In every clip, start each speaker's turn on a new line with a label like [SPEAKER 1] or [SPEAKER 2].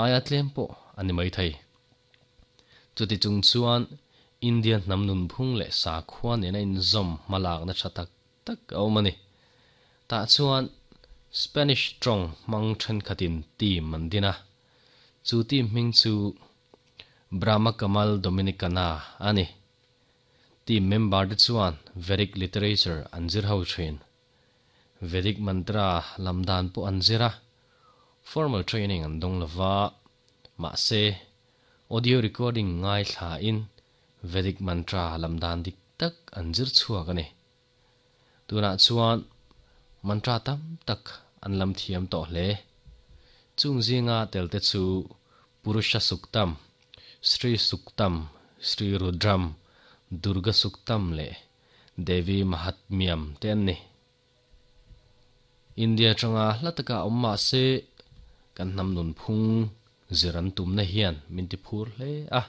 [SPEAKER 1] Aia tlem pawh a ni maithei. Chuti chung chuan India hnam nunphung leh sakhua nena inzawm hmalakna tha tak tak a awm a ni. Tah chuan Spanish tawng hmang thenkhatin team an din a, chu team hming chu Brahma Kamal Dominicana a ni. Team member te chuan Vedic literature an zir ho thin. Vedic mantra lam dan pawh an zir a, formal training an dawng lova, mahse audio recording ngaithlain Vedic mantra lam dan dik tak an zir chhuak a ni. Tunah chuan mantra tam tak an lam thiam tawh hle. Chung zinga telte chu Purusha Suktam, Sri Suktam, Sri Rudram, Durga Suktam leh Devi Mahatmyam te an ni. India atanga hla taka awm mah se kan hnam nunphung zir an tumna hian min ti phur hle a.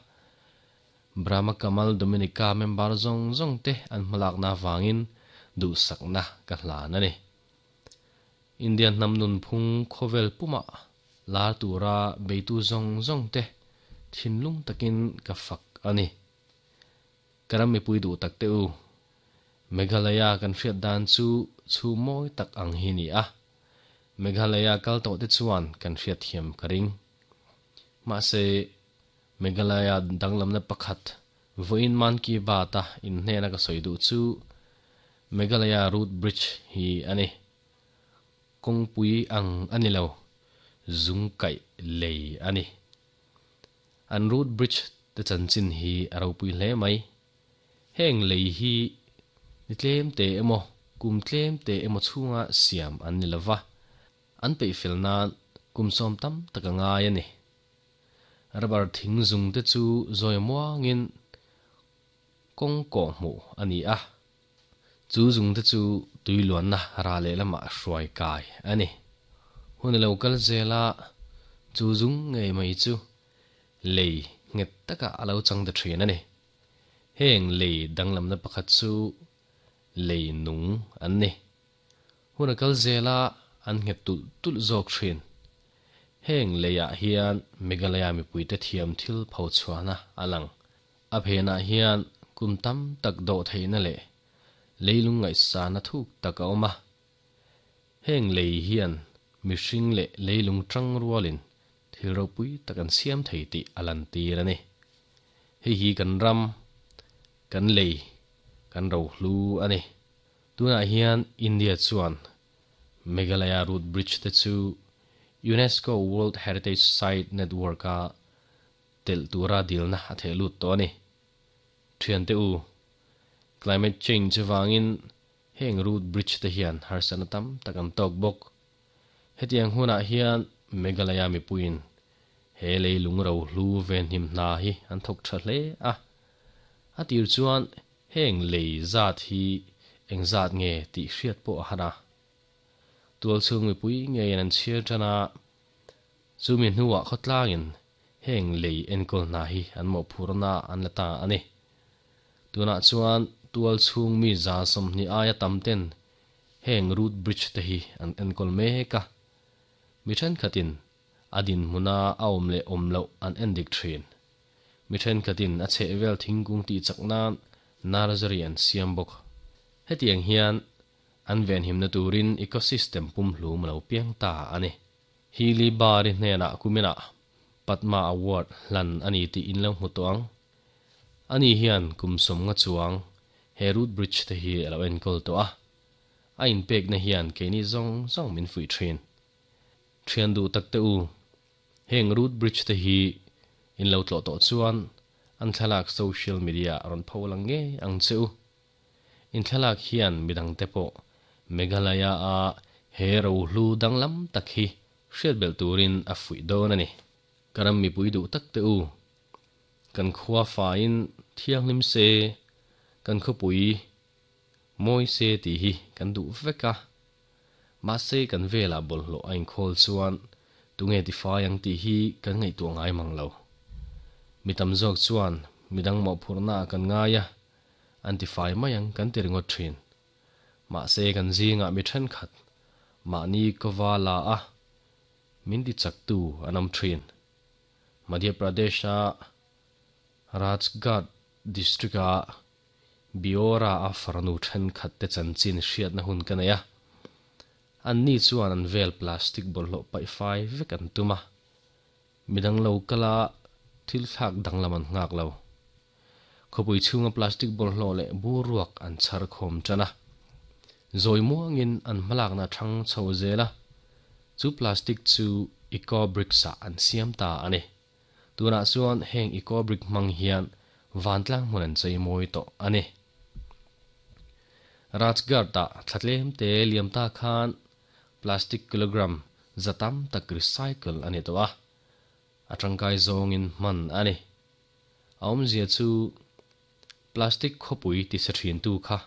[SPEAKER 1] Brahma Kamal Dominica member zawng zawng te an hmalakna avangin duhsakna ka hlan a ni. India hnam nunphung khawvel pumah lar tura beitu zawng zawng te thinlung takin ka fak a ni. Ka ram mipui duh tak teh u. Meghalaya kan hriat dan chu chhum mawi tak ang hi ni a. Meghalaya kal tawh te chuan kan hriat thiam ka ring. Mahse, Meghalaya danglamna pakhat vawiin Mann Ki Baat a inhnena ka sawi duh chu Meghalaya Root Bridge hi a ni. Kawngpui ang a ni lo, zung kaih lei a ni. An root bridge te chanchin hi a ropui hle mai. Heng lei hi ni tlem te emaw, kum tlem te emaw chhunga siam an ni lova, an peihfel nan kum sawm tam tak a ngai a ni. Rubber thing zung te chu zawi muangin kawng kawh hmuh a ni a, chu zung te chu tui luanna ra lehlamah hruai kai a ni. Hun a lo kal zel a, chu zung ngei mai chu lei nghet takah a lo chang ta thin a ni. Heng lei danglamna pakhat chu lei nung an ni. Hun a kal zel a, an nghet tulh tulh zawk thin. Heng leiah hian Meghalaya mipuite thiam thil pho chhuahna a lang. A phenah hian kum tam tak dawh theihna leh leilung ngaihsana thuk tak a awm a. Heng lei hian mihring leh leilung tang rualin thil ropui tak an siam thei tih a lantir a ni. Hei hi kan ram, kan lei, kan rohlu a ni. Tunah hian India chuan Meghalaya Root Bridge te chu UNESCO World Heritage Site Network-a telh tura dilna a theh lut tawh a ni. Thiante u, climate change vangin heng root bridge te hian harsatna tam tak an tawk bawk. Hetiang hunah hian Meghalaya mipuiin he leilung rohlu venhim hna hi an thawk tha hle a. A tir chuan heng lei zat hi eng zat nge tih hriat pawh a han a. Tualchhung mipui ngeiin an chhiar tan a, chumi hnuah khawtlangin heng lei enkawl hna hi an mawhphurna an la ta a ni. Tunah chuan tualchhung mi 20 aia tam ten heng root bridge te hi an enkawl mek a, mi thenkhatin a dinhmuna a awm leh awm loh an endik thin. Mi thenkhatin a chhehvel thingkung tih chak nan nursery an siam bawk. Hetiang hian an venhimna turin ecosystem pumhlum a lo piang ta a ni. Hili Bari hnenah kuminah Padma Award hlan a ni tih in lo hmu tawh ang. Ani hian kum sawmnga chuang he root bridge te hi a lo enkawl tawh a. A inpekna hian keini zawng zawng min fuih thin. Thian duh tak te u, heng root bridge te hi in lo tlawh tawh chuan an thlalak social media a rawn pho lang ngei ang che u. In thlalak hian midang te pawh Meghalaya a he rohlu danglam tak hi hriat belh turin a fuih dawn a ni. Ka ram mipui duh tak te u, kan khua faiin thianghlim se, kan khawpui mawi se tih hi kan duh vek a. Mahse kan velah bawlhhlawh a inkhawl chuan tunge tifai ang tih hi kan ngaihtuah ngai mang lo. Mi tam zawk chuan midang mawhphurhna ah kan ngai a, an tifai mai ang kan ti ringawt thin. Mahse kan zingah mi thenkhat mahni kawva la a, min ti chaktu an awm thin. Madhya Pradesh-a Rajgarh district-a Biora-a farnu thenkhatte chanchin hriatna hun ka nei a. Anni chuan an vel plastic bawlhhlawh paih fai vek an tum a, midang lo kala thil thlak danglam an nghak lo. Khawpui chhunga plastic bawlhhlawh leh bur ruak an chhar khawm tan a, zawi muangin an hmalakna a thang chho zel a, chu plastic chu eco bricks ah an siam ta a ni. Tunah chuan heng eco brick hmang hian vantlang hmun an chei mawi tawh a ni. Rajgarh-ah thla tlem te liam ta khan plastic kilogram za tam tak recycle a ni tawh a, a tangkai zawngin hman a ni. A awmzia chu plastic khawpui ti sa thintu kha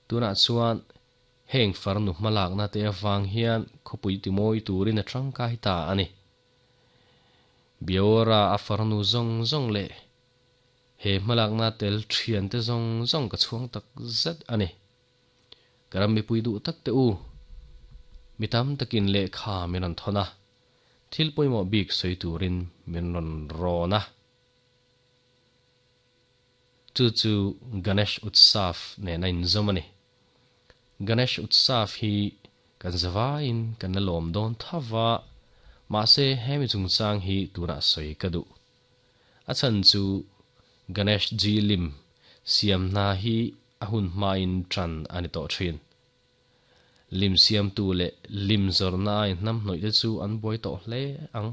[SPEAKER 1] tunah chuan heng farnu hmalakna te avang hian khawpui ti mawi turin a tangkai ta a ni. Biaora a farnu zawng zawng leh he hmalakna tel thiante zawng zawng ka chhuang tak zet a ni. Ka ram mipui duh tak te u, mi tam takin lehkha min rawn thawn a, thil pawimawh bik sawi turin min rawn rawn a. Chu chu Ganesh Utsav nen a inzawm a ni. Ganesh Utsav hi kan zavaiin kan la lawm dawn tho va, mahse hemi chungchang hi tunah sawi ka duh. A chhan chu Ganesh Ji lim siam hna hi a hun hmain tan a ni tawh thin. Lim siamtu leh lim zawrhna a inhnamhnawih te chu an buai tawh hle ang.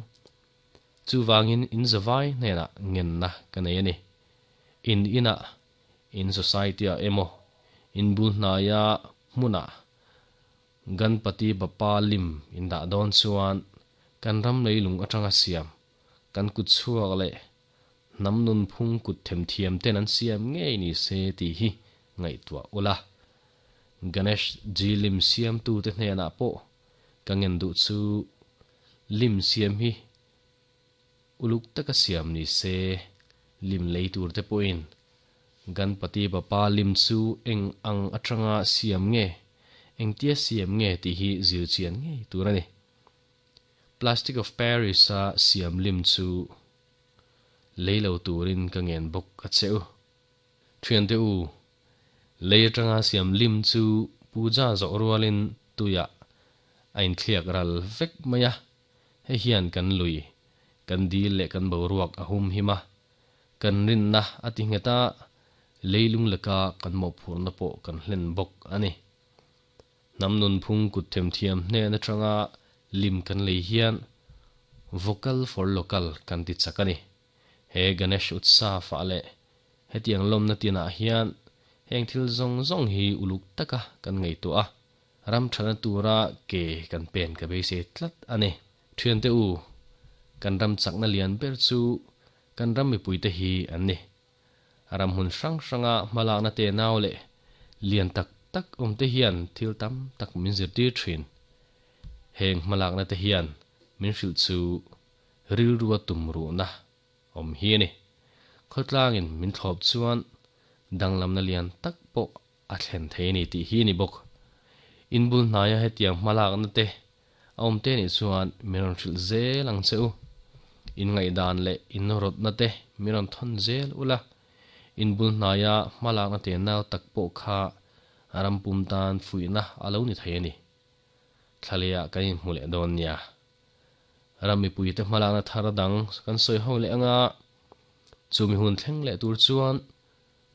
[SPEAKER 1] Chuvangin in zavai hnenah ngenna ka nei a ni. In inah, in society-ah emaw, in bul hnaia hmunah Ganpati Bappa lim in dah dawn chuan kan ram leilung atanga siam kan kut chhuak leh hnam nunphung kut themthiam ten an siam ngei ni se tih hi ngaihtuah ula. Ganesh ji lim siamtute hnenah pawh ka ngen duh chu lim siam hi uluk taka siam ni se, lim lei tur te pawhin Ganpati Bappa lim chu eng ang atanga siam nge, engtia siam nge tih hi zir chian ngei tur a ni. Plastic of Paris-a siam lim chu lei lo turin ka ngen bawk a che u. Thiante u, lei atanga siam lim chu puja zawh rualin tuiah a inthliak ral vek mai a, hei hian kan lui, kan dil leh kan boruak a hum him a, kan rinna a ti nghet a, leilung leka kan mawhphurhna pawh kan hlen bawk a ni. Hnam nunphung kut themthiam hnen atanga lim kan lei hian Vocal for Local kan ti chak a ni. He Ganesh Utsav ah leh hetiang lawmna tinah hian heng thil zawng zawng hi uluk taka kan ngaihtuah a, ram thana tura ke kan pen ka beisei tlat a ni. Thiante u, kan ram chakna lian ber chu kan ram mipuite hi an ni. Ram hmun hrang hranga hmalakna te nau leh lian tak tak awm te hian thil tam tak min zirtir thin. Heng hmalakna te hian min hrilh chu rilrua tum ruhna awm hi a ni. Khawtlangin min thlawp chuan danglamna lian tak pawh a thlen thei a ni tih hi a ni bawk. Inbul hnaia hetiang hmalakna te a awm te nih chuan min rawn hrilh zel ang che u. In ngaihdan leh in rawtna te min rawn thawn zel ula, inbul hnaia hmalakna te nau tak pawh kha ram pum tan fuihna a lo ni thei a ni. Thlalehah kan inhmu leh dawn nia. Ram mipuite hmalakna thar dang kan sawi ho leh anga, chumi hun thleng leh tur chuan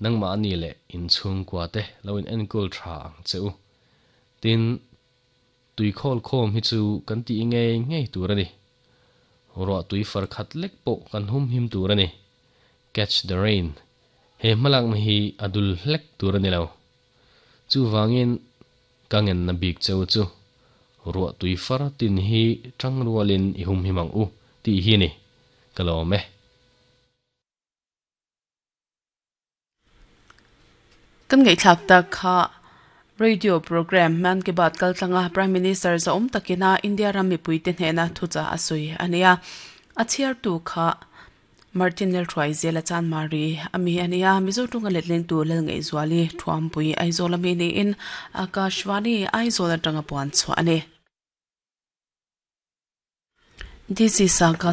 [SPEAKER 1] nangmahni leh inchhungkua te lo in enkawl tha ang che u. Tin, Tuikhawl khawm hi chu kan tih ngei ngei tur a ni. Ruah tui far khat lek pawh kan hum him tur a ni. Catch the rain, He hmalakna hi a dul hlek tur a ni lo. Chuvangin ka ngenna bik cheu chu ruah tui far tin hi tang rualin i hum him ang u tih hi a ni. Ka lawm e.
[SPEAKER 2] Kan ngaihthlak tak kha Radio Programme Mann Ki Baat kal tlanga Prime Minister zahawm takina India ram mipuite hnehna thuchah a sawi a nia. A chhiartu kha Martin Lalhruaizela Chanmari a mi a nia. Mizo tunga letlengtu Lalngaihzuali Thuampui Aizawl a mi niin Akashvani Aizawl atanga puan chhuah a ni. This is Akashvani.